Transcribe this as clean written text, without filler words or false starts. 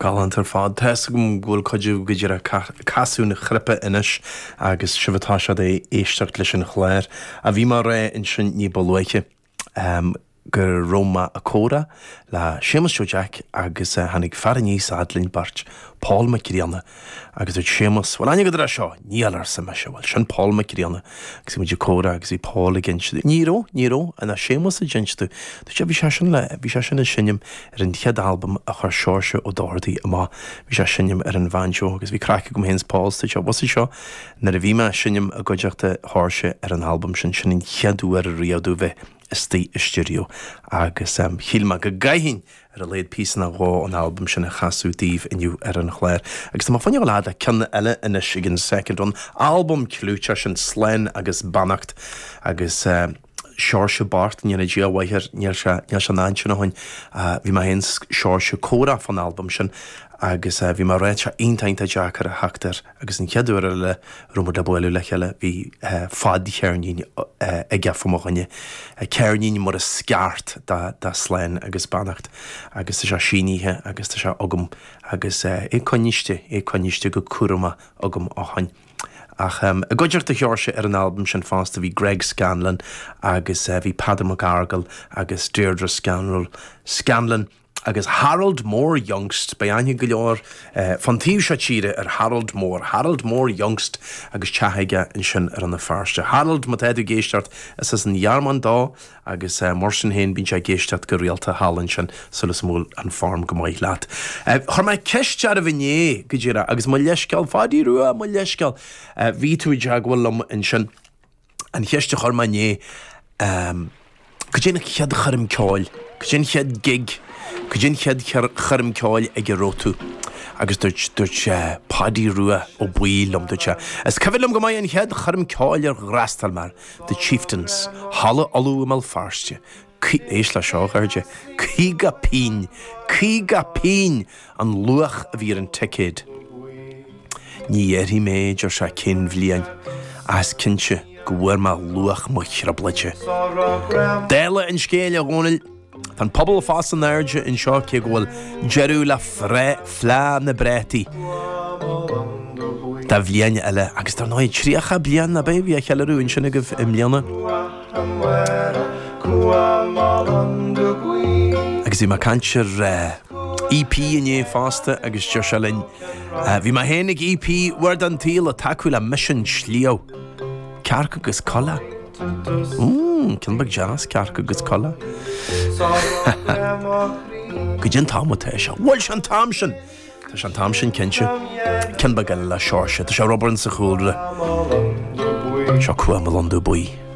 Galánta ar fad. Tá 'fhios agam go bhfuil cuid agaibh go díreach ag casadh na cnaipí anois agus sibh ag toiseacht ag éisteacht leis an chlár. A bhí mé a rá ansin ní ba luaithe go raibh mé ag comhrá le Séamus Joe Jack agus tháinig fear aníos a fhad linn beirt, Paul Mac Grianna, Agus dúirt Séamus, Bhfuil aithne agat air seo? Níl, arsa mise. Bhuel, sin Paul Mac Grianna. Agus bhí muid ag comhrá agus bhí Paul ag inse domh. Ní raibh, ní raibh, ach Séamus ag inse domh. Dúirt sé, bhí sé sin le, bhí sé sin ag seinm ar an chéad albam a chuir Seoirse Ó Dochartaigh amach. Bhí sé ag seinm ar an bhanjo agus bhí craic agam féin is Paul is dúirt sé, bhfuil 'fhios agat seo, nuair a bhí mé ag seinm i gcuideachta Sheoirse ar an albam sin, sin an chéad uair riamh domh bheith istigh i stiúideo agus shíl mé go gcaithfinn ar a laghad píosa nó dhó ón albam sin a chasadh daoibh inniu ar an chlár. Agus tá mé fá choinne dul le ceann eile anois ag an Second Run, albam clúiteach sin Slán agus Beannacht agus Seoirse bocht, go ndéana Dia a mhaith air, níl sé, níl sé in ansin ó shin. Bhí mé féin 's Seoirse ag comhrá fán albam sin agus bhí mé ag rá tá sé iontach iontach deacair a theacht air. Agus an chéad uair eile a raibh muid le bualadh le chéile bhí fadcheirnín aige fá mo choinne, ceirnín mar is ceart de Slán agus Beannacht agus tá sé sínithe agus tá sé agam agus é coinniste, é coinniste go cúramach agam ó shoin. Ach i gcuideachta Sheoirse ar an albam sin fosta bhí Greg Scanlon agus bhí Peadar Mac Fhearghail agus Deirdre Scanrell, Scanlon. Agus Harold Mór Juengst, beidh aithne go leor fán taobh seo tíre ar Harold Mór, Harold Mór Juengst agus teach aige ansin i Rann na Feirste. Harold, má tá tú ag éisteacht, is as an Ghearmáin dó agus mar sin féin bíonn sé ag éisteacht go rialta thall ansin, súil is go bhfuil an form go maith leat. Chuir mé ceist oraibh inné, go díreach, agus mo leithscéal, Pháidí Rua, mo leithscéal, bhí tú i dteagmháil liom ansin. An cheist a chuir mé inné, cad é an chéad choirm ceoil, cad é an chéad gig, cad é an chéad choirm ceoil ag a raibh tú? Agus dúirt, dúirt Páidí Rua Ó Baoill liom, dúirt sé, is cuimhin liom go maith an chéad choirm ceoil ar fhreastail mé air, The Chieftains, Halla Uladh i mBéal Feirste. Éist le seo, a chairde, 50 pingin, 50 pingin an luach a bhí ar an ticéad. Ní dhéarfaidh mé, deir sé, cén bhliain, ach is cinnte go bhfuair mé luach mo thrioblóide. Dála an scéil, a Dhónaill, tá an puball fós in airde anseo cé go bhfuil deireadh le Fleá na bPréataí do bhliain eile agus dar ndóigh 30 bliain ab ea a bhí á cheiliúradh ansin agaibh i mbliana. Agus bhí mé ag caint ar EP inné fosta agus deir sé linn, Bhí mé féin ag EP uair den tsaol ag tacú le Misean Sliabh. Cearc agus Coileach. Mmm, ceann beag deas, cearc agus coileach. Goidé an t-am atá sé? Bhfuil sé an t-am sin! Tá sé an t-am sin cinnte. Ceann beag eile le Seoirse. Tá sé ag obair sa chúlra. Seo Cumha mo Londubh Buí.